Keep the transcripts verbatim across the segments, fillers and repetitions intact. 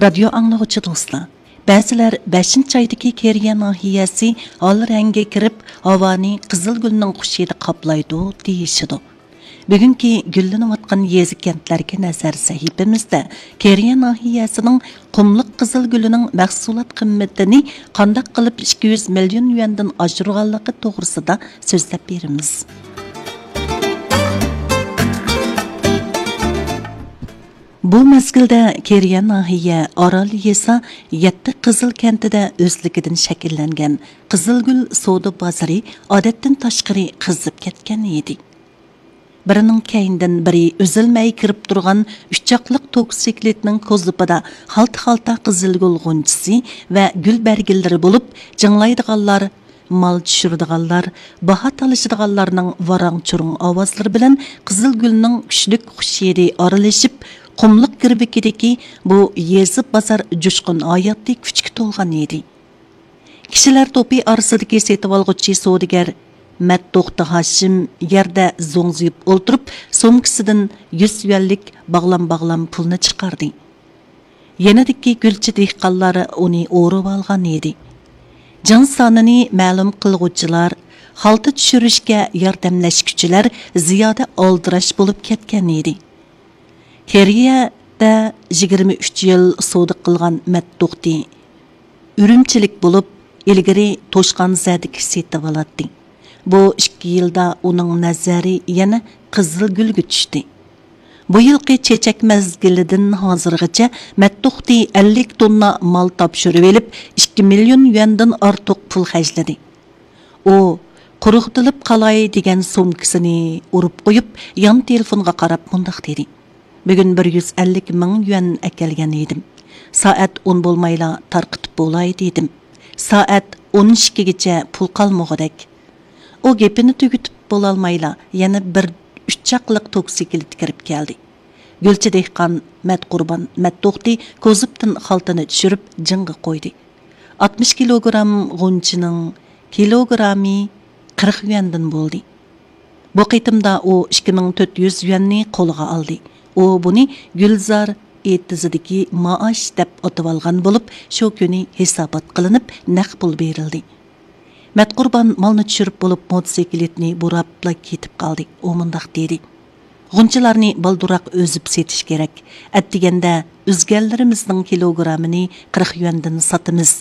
رادىيو ئاڭلىغۇچى دوستلار، بەزىلەر بەشىنچى ئايدىكى كېرىيە ناھىيەسى ھال رەڭگە كىرىپ، ھاۋانى قىزىل گۈلنىڭ خۇش ھىدى قاپلايدۇ دېيىشىدۇ. بۈگۈنكى گۈللىنىۋاتقان يېزا كەنتلەرگە نەزەر سەھىپىمىزدە كېرىيە ناھىيەسىنىڭ قۇملۇق قىزىل گۈلىنىڭ مەھسۇلات قىممىتىنى قانداق قىلىپ ئىككى يۈز مىليون يۈەندىن ئاشۇرغانلىقى توغرىسىدا سۆزلەپ بېرىمىز. بۇ مەزگىلدە كېرىيە ناھىيە ئارال يېزا يەتتە قىزىل كەنتىدە ئۆزلۈكىدىن شەكىللەنگەن قىزىلگۈل سودا بازىرى ئادەتتىن تاشقىرى قىزىپ كەتكەن ئىدى. بىرىنىڭ كەينىدىن بىرى ئۈزۈلمەي كىرىپ تۇرغان ئۈچ چاقلىق توكسىكلىتنىڭ كوزۇپىدا خالتا-خالتا قىزىلگۈل غۇنچىسى ۋە گۈل بەرگىلىرى بولۇپ، جىڭلايدىغانلار، مال چۈشۈرىدىغانلار، باھا تالىشىدىغانلارنىڭ ۋاراڭ-چۇرۇڭ ئاۋازلىرى بىلەن قىزىل گۈلنىڭ كۈچلۈك خۇش ھىدى ئارىلىشىپ، قۇملۇق گىرۋىكىدىكى بۇ يېزا بازار جۇشقۇن ھاياتىي كۈچكە تولغان ئىدى. كىشىلەر توپى ئارىسىدىكى سېتىۋالغۇچى سودىگەر مەتتوختى ھاشىم يەردە زوڭزىيىپ ئولتۇرۇپ، سومكىسىدىن يۈز يۈەنلىك باغلام-باغلام پۇلنى چىقاردى. يېنىدىكى گۈلچى دېھقانلار ئۇنى ئورىۋالغان ئىدى. جىڭ سانىنى مەلۇم قىلغۇچىلار، خالتا چۈشۈرۈشكە ياردەملەشكۈچىلەر زىيادە ئالدىراش بولۇپ كەتكەن ئىدى. كېرىيەدە يىگىرمە ئۈچ يىل سودا قىلغان مەتتوختى ئۈرۈمچىلىك بولۇپ، ئىلگىرى توشقانزەدىكى سېتىۋالاتتى. بۇ ئىككى يىلدا ئۇنىڭ نەزەرى يەنە قىزىل گۈلگە چۈشتى. بۇ يىلقى چېچەك مەزگىلىدىن ھازىرغىچە مەتتوختى ئەللىك توننا مال تاپشۇرۇۋېلىپ، ئىككى مىليون يۈەندىن ئارتۇق پۇل خەجلىدى. ئۇ قۇرۇقتىلىپ قالاي دېگەن سومكىسىنى ئۇرۇپ قويۇپ، يان تېلېفونغا قاراپ مۇنداق دېدى: «بۈگۈن بىر يۈز ئەللىك مىڭ يۈەن ئەكەلگەن ئىدىم. سائەت ئون بولمايلا تارقىتىپ بولاي دېدىم. سائەت ئون ئىككىگىچە پۇل قالمىغۇدەك.» ئۇ گېپىنى تۈگىتىپ بولالمايلا، يەنە بىر ئۈچ چاقلىق توكسىكلىت كىرىپ كەلدى. گۈلچى دېھقان مەتقۇربان مەتتوختى كوزۇپتىن خالتىنى چۈشۈرۈپ جىڭغا قويدى. ئاتمىش كىلوگرام غۇنچىنىڭ كىلوگرامى قىرىق يۈەندىن بولدى. بۇ قېتىمدا ئۇ ئىككى مىڭ تۆت يۈز يۈەننى قولىغا ئالدى. ئۇ بۇنى گۈلزار ئېتىزىدىكى مائاش دەپ ئاتىۋالغان بولۇپ، شۇ كۈنى ھېسابات قىلىنىپ، نەق پۇل بېرىلدى. مەتقۇربان مالنى چۈشۈرۈپ بولۇپ، موتوسىكلىتنى بۇراپلا كېتىپ قالدى. ئۇ مۇنداق دېدى: «غۇنچىلارنى بالدۇرراق ئۈزۈپ سېتىش كېرەك. ئەتىگەندە ئۈزگەنلىرىمىزنىڭ كىلوگرامىنى قىرىق يۈەندىن ساتىمىز.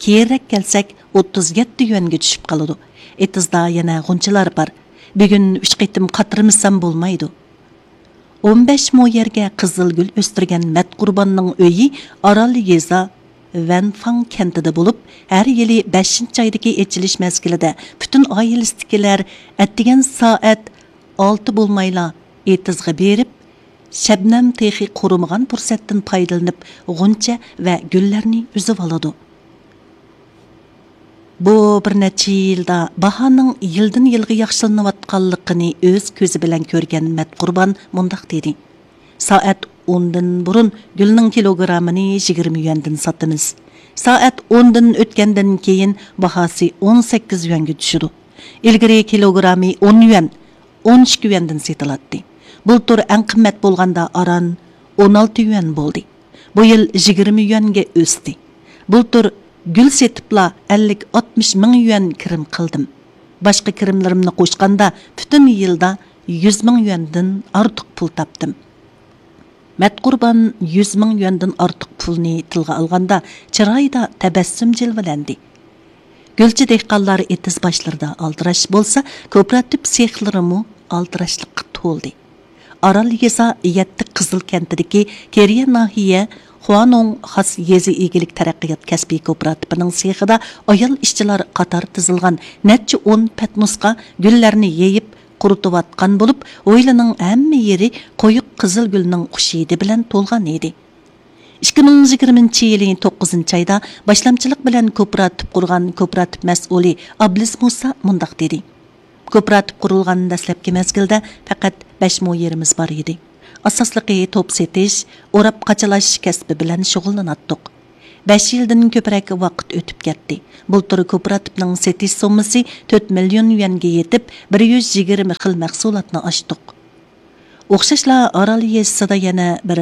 كېيىنرەك كەلسەك، ئوتتۇز يەتتە يۈەنگە چۈشۈپ قالىدۇ. ئېتىزدا يەنە غۇنچىلار بار. بۈگۈن ئۈچ قېتىم قاترىمىسام بولمايدۇ.» ئون بەش مو يەرگە قىزىل گۈل ئۆستۈرگەن مەتقۇرباننىڭ ئۆيى ئارال يېزا ۋەنفاڭ كەنتىدە بولۇپ، ھەر يىلى بەشىنچى ئايدىكى ئېچىلىش مەزگىلىدە پۈتۈن ئائىلىسىدىكىلەر ئەتىگەن سائەت ئالتە بولمايلا ئېتىزغا بېرىپ، شەبنەم تېخى قۇرۇمىغان پۇرسەتتىن پايدىلىنىپ، غۇنچە ۋە گۈللەرنى ئۈزۈۋالىدۇ. بۇ بىر نەچچە يىلدا باھانىڭ يىلدىن يىلغا ياخشىلىنىۋاتقانلىقىنى ئۆز كۆزى بىلەن كۆرگەن مەتقۇربان مۇنداق دېدى: «سائەت ئوندىن بۇرۇن گۈلنىڭ كىلوگرامىنى يىگىرمە يۈەندىن ساتىمىز. سائەت ئوندىن ئۆتكەندىن كېيىن باھاسى ئون سەككىز يۈەنگە چۈشىدۇ. ئىلگىرى كىلوگرامى ئون يۈەن، ئون ئىككى يۈەندىن سېتىلاتتى. بۇلتۇر ئەڭ قىممەت بولغاندا ئاران ئون ئالتە يۈەن بولدى. بۇ يىل يىگىرمە يۈەنگە ئۆستى. بۇلتۇر گۈل سېتىپلا ئەللىك ئاتمىش مىڭ يۈەن كىرىم قىلدىم. باشقا كىرىملىرىمنى قوشقاندا پۈتۈن يىلدا يۈز مىڭ يۈەندىن ئارتۇق پۇل تاپتىم.» مەتقۇربان يۈز مىڭ يۈەندىن ئارتۇق پۇلنى تىلغا ئالغاندا، چىرايىدا تەبەسسۇم جىلۋىلەندى. گۈلچى دېھقانلار ئېتىز باشلىرىدا ئالدىراش بولسا، كوپىراتىپ سېخلىرىمۇ ئالدىراشلىققا تولدى. ئارال يېزا يەتتە قىزىل كەنتىدىكى كېرىيە ناھىيە خۇانوڭ خاس يېزا ئىگىلىك تەرەققىيات كەسپىي كوپىراتىپىنىڭ سېخىدا ئايال ئىشچىلار قاتار تىزىلغان نەچچە ئون پەتنۇسقا گۈللەرنى يېيىپ قۇرۇتۇۋاتقان بولۇپ، ھويلىنىڭ ھەممە يېرى قويۇق قىزىل گۈلنىڭ خۇش ھىدى بىلەن تولغان ئىدى. ئىككى مىڭ يىگىرمىنچى يىلى توققۇزىنچى ئايدا باشلامچىلىق بىلەن كوپىراتىپ قۇرغان كوپىراتىپ مەسئۇلى ئابلىز مۇسا مۇنداق دېدى: «كوپىراتىپ قۇرۇلغان دەسلەپكى مەزگىلدە پەقەت بەش مو يېرىمىز بار ئىدى. ئاساسلىقى توپ سېتىش، ئوراپ قاچىلاش كەسپى بىلەن شۇغۇللىناتتۇق. بەش يىلدىن كۆپرەك ۋاقىت ئۆتۈپ كەتتى. بۇلتۇر كوپىراتىپنىڭ سېتىش سوممىسى تۆت مىليون يۈەنگە يېتىپ، بىر يۈز يىگىرمە خىل مەھسۇلاتنى ئاچتۇق.» ئوخشاشلا ئارال يېزىسىدا يەنە بىر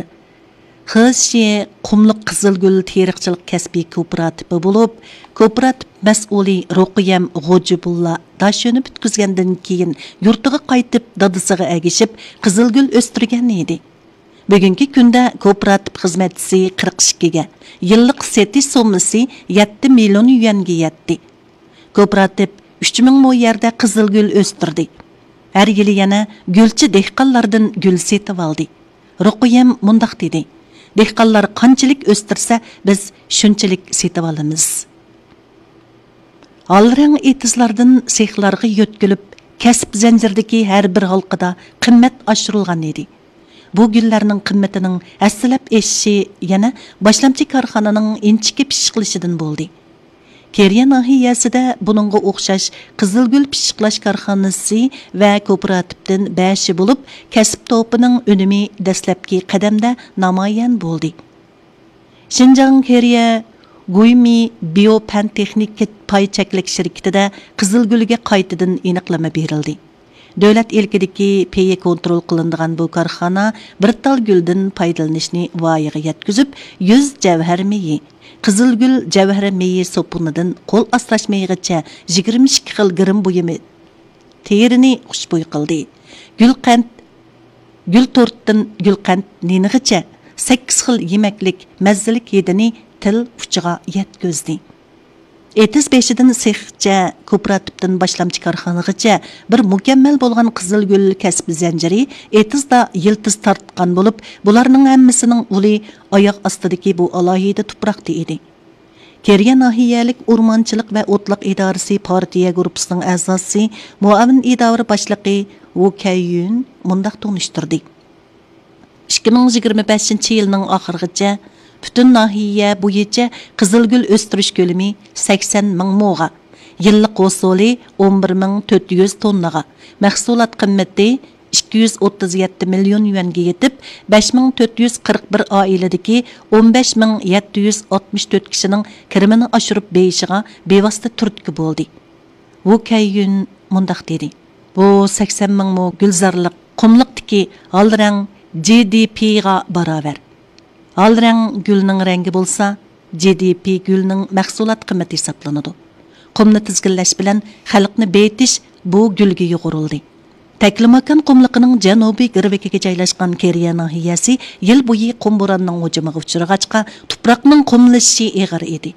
خېشيې قۇملۇق قىزىلگۈل تېرىقچىلىق كەسپىي كوپىراتىپى بولۇپ، كوپىراتىپ مەسئۇلى روقىيەم غوجىبۇللا داشۆنى پۈتكۈزگەندىن كېيىن، يۇرتىغا قايتىپ، دادىسىغا ئەگىشىپ، قىزىلگۈل ئۆستۈرگەن ئىدى. بۈگۈنكى كۈندە كوپىراتىپ خىزمەتچىسى قىرىق ئىككىگە، يىللىق سېتىش سوممىسى يەتتە مىليون يۈەنگە يەتتى. كوپىراتىپ ئۈچ مىڭ مو يەردە قىزىلگۈل ئۆستۈردى. ھەر يىلى يەنە گۈلچى دېھقانلاردىن گۈل سېتىۋالدى. رۇقىيەم مۇنداق دېدى: «دېھقانلار قانچىلىك ئۆستۈرسە، بىز شۇنچىلىك سېتىۋالىمىز.» ھال رەڭ ئېتىزلاردىن سېخلارغا يۆتكىلىپ، كەسىپ زەنجىرىدىكى ھەر بىر ھالقىدا قىممەت ئاشۇرۇلغان ئىدى. بۇ گۈللەرنىڭ قىممىتىنىڭ ھەسسىلەپ ئېشىشى يەنە باشلامچى كارخانىنىڭ ئىنچىكە پىششىقلىشىدىن بولدى. كېرىيە ناھىيەسىدە بۇنىڭغا ئوخشاش قىزىلگۈل پىششىقلاش كارخانىسى ۋە كوپىراتىپتىن بەشى بولۇپ، كەسىپ توپىنىڭ ئۈنۈمى دەسلەپكى قەدەمدە نامايان بولدى. شىنجاڭ كېرىيە گۇيمى بىيو پەن تېخنىكا پاي چەكلىك شىركىتىدە قىزىلگۈلگە قايتىدىن ئېنىقلىما بېرىلدى. دۆلەت ئىلكىدىكى پېيى كونترول قىلىنىدىغان بۇ كارخانا بىر تال گۈلدىن پايدىلىنىشنى ۋايىغا يەتكۈزۈپ، يۈز جەۋھەر مېيى، قىزىلگۈل جەۋھەر مېيى سوپۇنىدىن قول ئاسراش مېيىغىچە يىگىرمە ئىككى خىل گىرىم بۇيۇمى تېرىنى خۇشبۇي قىلدى. گۈلقەنت، گۈل تورتتىن گۈلقەنت نېنىغىچە سەككىز خىل يېمەكلىك مەززىلىك ھىدىنى تىل ئۇچىغا يەتكۈزدى. ئېتىز بېشىدىن سېخچە، كوپىراتىپتىن باشلامچى كارخانىغىچە بىر مۇكەممەل بولغان قىزىلگۈل كەسىپ زەنجىرى ئېتىزدا يىلتىز تارتقان بولۇپ، بۇلارنىڭ ھەممىسىنىڭ ئۇلى ئاياغ ئاستىدىكى بۇ ئالاھىدە تۇپراقتا ئىدى. كېرىيە ناھىيەلىك ئورمانچىلىق ۋە ئوتلاق ئىدارىسى پارتىيە گۇرۇپپىسىنىڭ ئەزاسى، مۇئاۋىن ئىدارە باشلىقى ۋۇ كەييۈن مۇنداق تونۇشتۇردى: ئىككى مىڭ يىگىرمە بەشىنچى يىلنىڭ ئاخىرىغىچە پۈتۈن ناھىيە بويىچە قىزىلگۈل ئۆستۈرۈش كۆلىمى سەكسەن مىڭ موغا، يىللىق ھوسۇلى ئون بىر مىڭ تۆت يۈز توننىغا، مەھسۇلات قىممىتى ئىككى يۈز ئوتتۇز يەتتە مىليون يۈەنگە يېتىپ، بەش مىڭ تۆت يۈز قىرىق بىر ئائىلىدىكى ئون بەش مىڭ يەتتە يۈز ئاتمىش تۆت كىشىنىڭ كىرىمىنى ئاشۇرۇپ بېرىشىغا بىۋاسىتە تۈرتكە بولدى. ۋۇ كەييۈن مۇنداق دېدى: «بۇ سەكسەن مىڭ مو گۈلزارلىق قۇملۇقتىكى ھال رەڭ جى دى پىغا باراۋەر. ھال رەڭ گۈلنىڭ رەڭگى بولسا، جى دى پى گۈلنىڭ مەھسۇلات قىممىتى ھېسابلىنىدۇ. قۇمنى تىزگىنلەش بىلەن خەلقنى بېيىتىش بۇ گۈلگە يۇغۇرۇلدى.» تەكلىماكان قۇملۇقىنىڭ جەنۇبىي گىرۋىكىگە جايلاشقان كېرىيە ناھىيەسى يىل بويى قۇم بوراننىڭ ھۇجۇمىغا ئۇچرىغاچقا، تۇپراقنىڭ قۇملىشىشى ئېغىر ئىدى.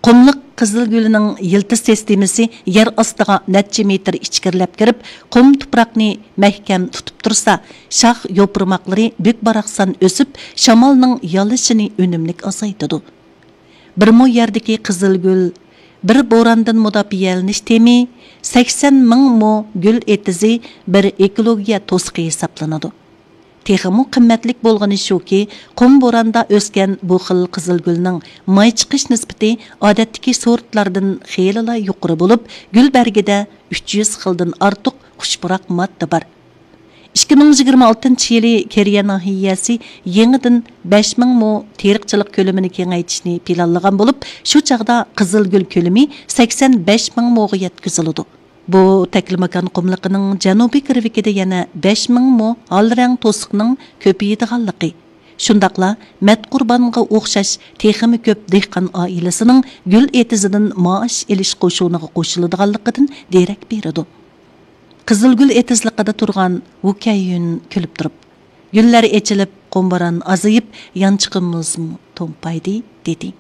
قۇملۇق قىزىلگۈلىنىڭ يىلتىز سىستېمىسى يەر ئاستىغا نەچچە مېتىر ئىچكىرىلەپ كىرىپ، قۇم تۇپراقنى مەھكەم تۇتۇپ تۇرسا، شاخ يوپۇرماقلىرى بۈك-باراقسان ئۆسۈپ، شامالنىڭ يالىشىنى ئۈنۈملۈك ئازايتىدۇ. بىر مو يەردىكى قىزىلگۈل بىر بوراندىن مۇداپىئەلىنىش تېمى، سەكسەن مىڭ مو گۈل ئېتىزى بىر ئېكولوگىيە توسۇقى ھېسابلىنىدۇ. تېخىمۇ قىممەتلىك بولغىنى شۇكى، قۇم بوراندا ئۆسكەن بۇ خىل قىزىلگۈلنىڭ ماي چىقىش نىسبىتى ئادەتتىكى سورتلاردىن خېلىلا يۇقىرى بولۇپ، گۈل بەرگىدە ئۈچ يۈز خىلدىن ئارتۇق خۇش پۇراق ماددا بار. ئىككى مىڭ يىگىرمە ئالتىنچى يىلى كېرىيە ناھىيەسى يېڭىدىن بەش مىڭ مو تېرىقچىلىق كۆلىمىنى كېڭەيتىشنى پىلانلىغان بولۇپ، شۇ چاغدا قىزىلگۈل كۆلىمى سەكسەن بەش مىڭ موغا يەتكۈزۈلىدۇ. بۇ تەكلىماكان قۇملۇقىنىڭ جەنۇبىي گىرۋىكىدە يەنە بەش مىڭ مو ھال رەڭ توسۇقنىڭ كۆپىيىدىغانلىقى، شۇنداقلا مەتقۇربانغا ئوخشاش تېخىمۇ كۆپ دېھقان ئائىلىسىنىڭ گۈل ئېتىزىدىن مائاش ئېلىش قوشۇنىغا قوشۇلىدىغانلىقىدىن دېرەك بېرىدۇ. قىزىلگۈل ئېتىزلىقىدا تۇرغان ۋۇ كەييۈن كۈلۈپ تۇرۇپ، «گۈللەر ئېچىلىپ، قۇم بوران ئازىيىپ، يانچۇقىمىزمۇ تومپايدى» دېدى.